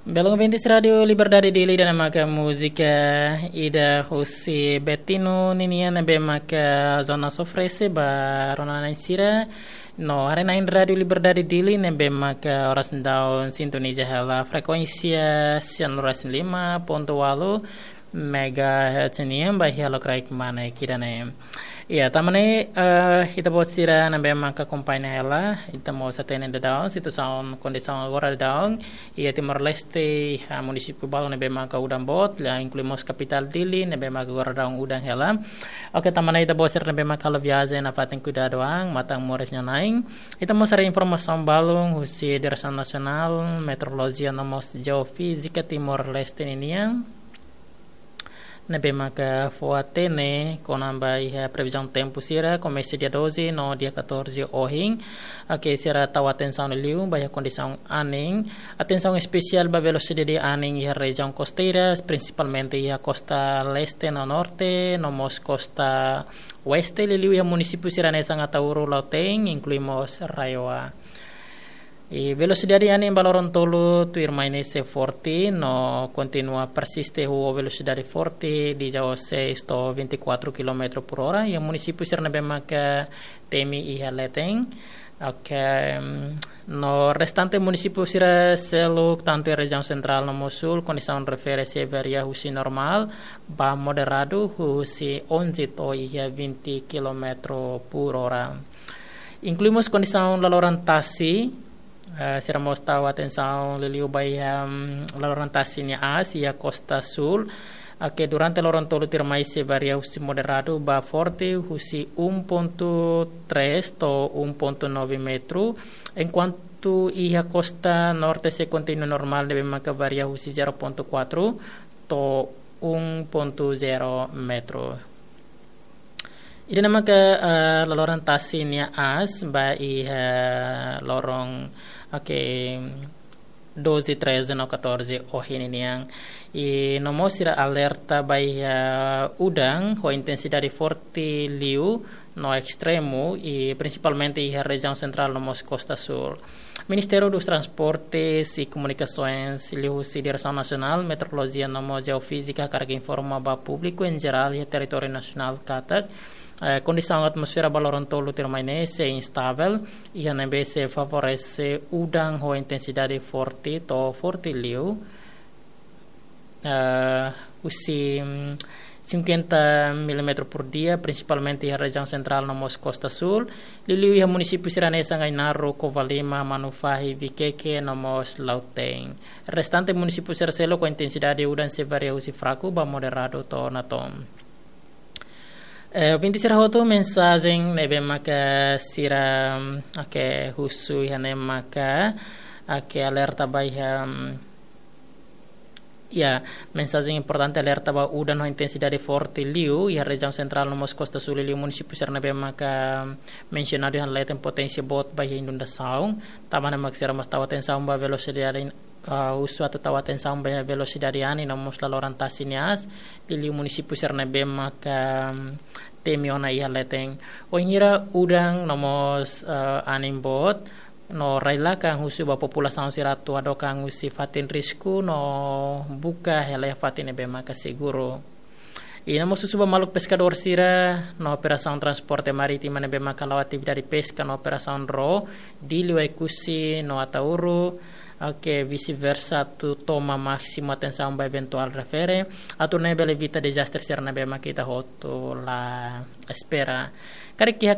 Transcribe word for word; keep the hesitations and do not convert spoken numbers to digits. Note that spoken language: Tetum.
Belun ouvintes Rádiu Liberdade Dili, ida-ne'e maka múzika ida husi Betinho ninian ne'ebé maka Zona Sofrese ba rona-na'in sira. No haree-na'in Rádiu Liberdade Dili ne'ebé maka oras daudaun sintoniza hela frekuénsia sian lima ponto walu megahertz nian ba iha lokraik Manek ida-ne'e. Ya, tanba ne'e, eh, ita-boot sira ne'ebé maka akompaña hela, ita mós hatene daudaun situasaun, kondisaun agora daudaun iha Timor-Leste, iha munisípiu balu ne'ebé maka udan boot, la inklui mós kapitál Dili ne'ebé maka agora daudaun udan hela. Oke, tanba ne'e ita-boot sira ne'ebé maka halo viajen nafatin kuidadu an, matan moris nia na'in. Ita mós haree informasaun balun husi Diresaun Nasionál Meteorolojia no mós Jeofízika Timor-Leste ninian ne'ebé maka fó hatene kona-ba iha previzaun tempu sira komesa dia doze no dia catorze ohin. Oke, sira tau atensaun liu ba iha kondisaun anin. Atensaun espesiál ba velosidade anin iha rejiaun kosteiras, prinsipalmente iha kosta leste no norte, no mós kosta oeste, liuliu iha munisípiu sira hanesan Ataúro, Lautein, inklui mós RAEOA. I velosidade anin ba loron tolu tuirmai ne'e sei forte, no kontinua persiste ho velosidade forte, dezasseis to'o vinte e quatro quilómetro por hora. Iha munisípiu sira ne'ebé maka temi iha leten. Oke, mm, no restante munisípiu sira seluk, tantu iha rejiaun sentrál no mós súl, kondisaun refere sei varia husi normál ba moderadu, husi onze to'o iha vinte quilómetro por hora. Inklui mós kondisaun laloran tasi, eh, sira mós tau atensaun liuliu ba iha, mm, laloran tasi nia aas iha kosta súl. Oke, durante loron tolu tuirmai sei varia husi moderadu ba forte, husi um ponto três to'o um ponto nove metro. Enkuantu iha kosta norte sei kontinua normál, ne'ebé maka varia husi zero ponto quatro to'o um ponto zero metro. Ida-ne'e maka, eh, laloran tasi nia aas ba iha loron, oke, doze, treze no catorze ohin nian. I no mós sira alerta ba iha udan ho intensidade forte liu no estremu, i prinsipalmente iha rejiaun sentrál no mós kosta súl. Ministériu dos Transportes e Comunicações, liuhusi Diresaun Nasionál Meteorolojia no mós Jeofízika, hakarak informa ba públiku en jerál iha territóriu nasionál katak, eh, kondisaun atmosfera ba loron tolu tuirmai ne'e sei instavel, iha ne'ebé sei favorese udan ho intensidade forte to'o forte liu, eh, husi, mm, cinquenta milímetro por dia, prinsipalmente iha rejiaun sentrál no mós kosta súl, liuliu iha munisípiu sira hanesan Ainaro, Covalima, Manufahi, Viqueque no mós Lautein. Restante munisípiu sira seluk ho intensidade udan sei varia husi fraku ba moderadu to'o natoon. Eh, ouvintes sira hotu, mensajen ne'ebé maka sira, mm, oke, husu iha ne'e maka, oke, alerta ba iha, mm, ya, mensajen importante, alerta ba udan ho intensidade forte liu iha rejiaun sentrál no mós kosta súl, liuliu munisípiu sira ne'ebé maka mensionadu iha leten, poténsia boot ba iha inundasaun. Tanba ne'e mak sira mós tau atensaun ba velosidade, ah, husu atu tau atensaun ba iha velosidade anin no mós laloran tasi nia aas, liuliu munisípiu sira ne'ebé maka, mm, temi ona iha leten. Wainhira udan no mós, eh, anin boot, no rai-lakan husu ba populasaun sira atu hadook an husi fatin risku no buka hela iha fatin ne'ebé maka seguru. I no mós husu ba maluk peskadór sira no operasaun transporte marítima ne'ebé maka hala'o atividade peska no operasaun ró Dili, Oekusi no Ataúro, oke, vice-versa, atu toma másimu atensaun ba eventuál refere, atu nune'e bele evita dezastre sira ne'ebé maka ita hotu la espera. Karik iha